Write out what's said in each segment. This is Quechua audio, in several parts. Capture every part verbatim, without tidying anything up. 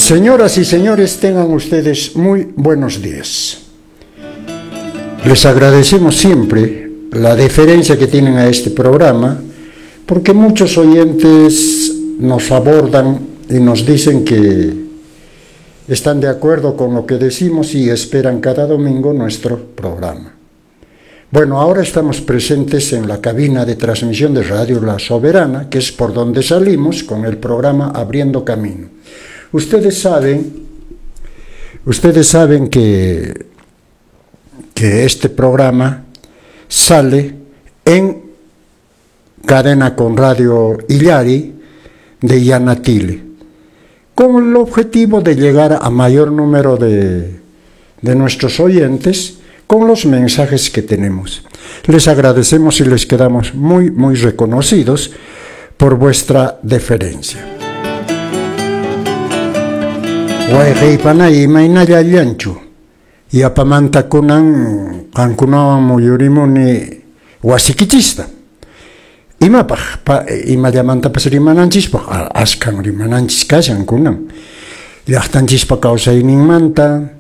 Señoras y señores, tengan ustedes muy buenos días. Les agradecemos siempre la deferencia que tienen a este programa, porque muchos oyentes nos abordan y nos dicen que están de acuerdo con lo que decimos y esperan cada domingo nuestro programa. Bueno, ahora estamos presentes en la cabina de transmisión de Radio La Soberana, que es por donde salimos con el programa Abriendo Camino. Ustedes saben, ustedes saben que, que este programa sale en cadena con Radio Illari de Yanatile, con el objetivo de llegar a mayor número de, de nuestros oyentes con los mensajes que tenemos. Les agradecemos y les quedamos muy, muy reconocidos por vuestra deferencia. Wayqiypanay, imaynalla allanchu? Yapamanta kunan qankunawan muyurimuni wasikichista. Imapaq? Pa, imallamantapas rimananchispaq, askhan rimananchis kashan kunan. Llaqtanchispa kawsayninmanta,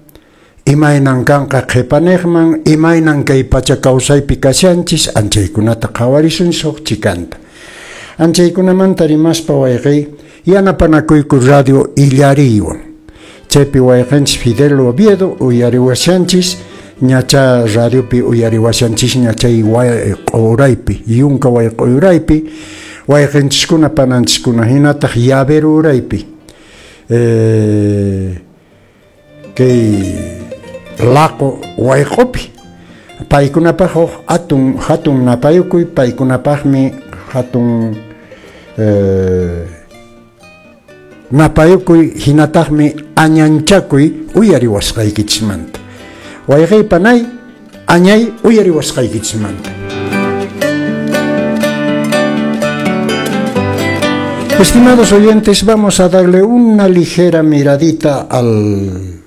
imaynan kanqa qhipaniqman, imaynan kay pacha kawsaypi kashanchis, anchaykunata qhawarisun suq chikanta. Anchaykunamanta rimaspa wayqiy, yanapanakuyku Radio Illariywan. Chaypi wayqinchis Fidel Oviedo uyariwashanchis, ñacha radiopi uyariwashanchis ñachay wayq'uraypi, yunka wayq'uraypi, wayqinchiskuna pananchiskuna hinataq llavero uraypi. Eh, kay laqo wayq'upi. Paykunapaq huk atun hatun napayukuy, paykunapaqmi hatun eh, napayukuy hinataqmi añanchakuy uyariwasqaykichismanta. Wayqiypanay añay uyariwasqaykichismanta. Estimados oyentes, vamos a darle una ligera miradita al,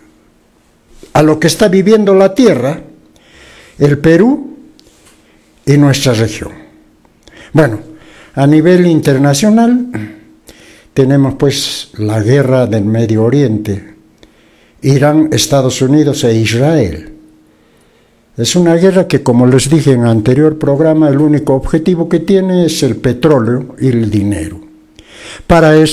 a lo que está viviendo la tierra, el Perú y nuestra región. Bueno, a nivel internacional tenemos pues la guerra del Medio Oriente, Irán, Estados Unidos e Israel. Es una guerra que, como les dije en anterior programa, el único objetivo que tiene es el petróleo y el dinero. Para eso